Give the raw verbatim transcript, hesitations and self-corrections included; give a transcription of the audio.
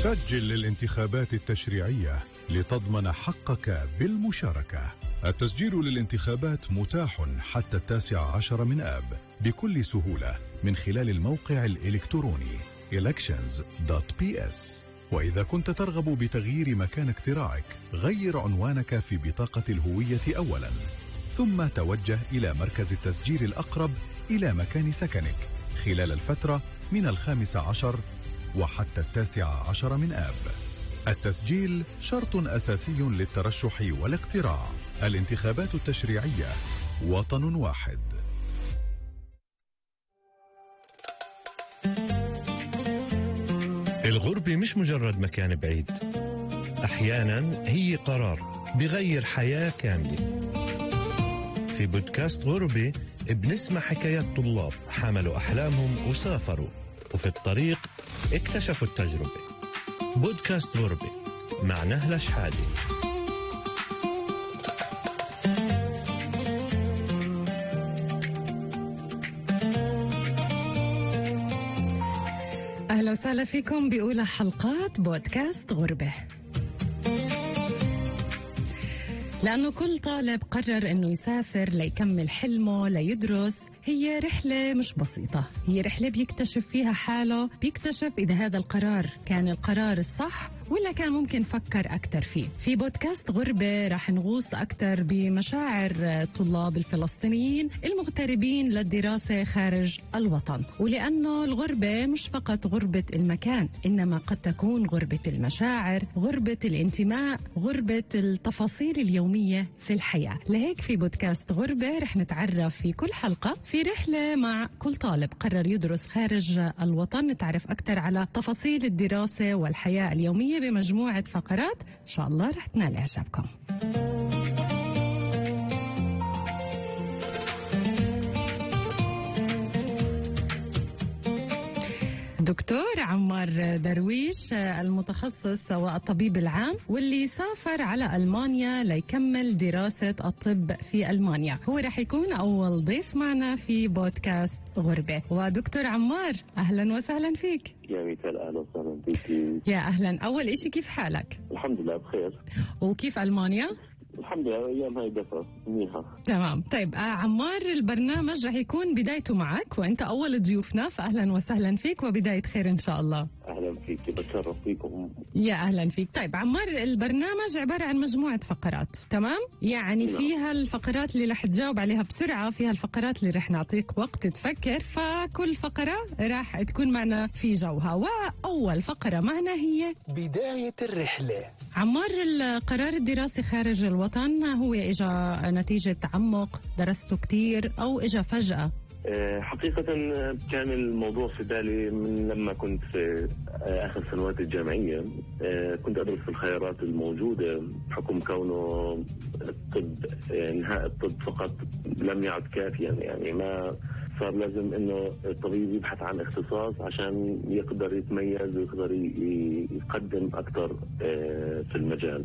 سجل للانتخابات التشريعية لتضمن حقك بالمشاركة. التسجيل للانتخابات متاح حتى التاسع عشر من آب بكل سهولة من خلال الموقع الإلكتروني elections دوت بي إس. وإذا كنت ترغب بتغيير مكان اقتراعك، غير عنوانك في بطاقة الهوية أولاً، ثم توجه إلى مركز التسجيل الأقرب إلى مكان سكنك خلال الفترة من الخامس عشر وحتى التاسع عشر من آب. التسجيل شرط أساسي للترشح والاقتراع. الانتخابات التشريعية، وطن واحد. الغربة مش مجرد مكان بعيد، أحياناً هي قرار بغير حياة كاملة. في بودكاست غربة بنسمع حكايات طلاب حملوا أحلامهم وسافروا، وفي الطريق اكتشفوا التجربة. بودكاست غربة مع نهلة شحادة. أهلا وسهلا فيكم بأولى حلقات بودكاست غربة. لأنه كل طالب قرر أنه يسافر ليكمل حلمه ليدرس، هي رحلة مش بسيطة، هي رحلة بيكتشف فيها حاله، بيكتشف إذا هذا القرار كان القرار الصح ولا كان ممكن فكر أكتر فيه. في بودكاست غربة راح نغوص أكتر بمشاعر الطلاب الفلسطينيين المغتربين للدراسة خارج الوطن، ولأنه الغربة مش فقط غربة المكان، إنما قد تكون غربة المشاعر، غربة الانتماء، غربة التفاصيل اليومية في الحياة. لهيك في بودكاست غربة رح نتعرف في كل حلقة في رحلة مع كل طالب قرر يدرس خارج الوطن، نتعرف أكتر على تفاصيل الدراسة والحياة اليومية بمجموعة فقرات إن شاء الله رح تنال إعجابكم. دكتور عمار درويش المتخصص والطبيب العام واللي سافر على ألمانيا ليكمل دراسة الطب في ألمانيا، هو رح يكون أول ضيف معنا في بودكاست غربة. ودكتور عمار أهلا وسهلا فيك. يا ميتال أهلا وسهلا فيك. يا أهلا. أول إشي كيف حالك؟ الحمد لله بخير. وكيف ألمانيا؟ الحمد لله أيام هاي دفع منيحة. تمام. طيب آه عمار، البرنامج رح يكون بدايته معك وأنت أول ضيوفنا، فأهلا وسهلا فيك وبداية خير إن شاء الله. أهلا فيك، بتشرف فيكم. يا أهلا فيك. طيب عمار، البرنامج عبارة عن مجموعة فقرات، تمام؟ يعني نعم. فيها الفقرات اللي رح تجاوب عليها بسرعة، فيها الفقرات اللي رح نعطيك وقت تفكر، فكل فقرة رح تكون معنا في جوها. وأول فقرة معنا هي بداية الرحلة. عمار، القرار الدراسي خارج الوطن هو إجا نتيجة تعمق، درسته كتير أو إجا فجأة؟ حقيقة كان الموضوع في بالي من لما كنت في آخر سنوات الجامعية. كنت أدرس في الخيارات الموجودة بحكم كونه الطب، انهاء الطب فقط لم يعد كافيا، يعني ما صار لازم انه الطبيب يبحث عن اختصاص عشان يقدر يتميز ويقدر يقدم اكثر في المجال.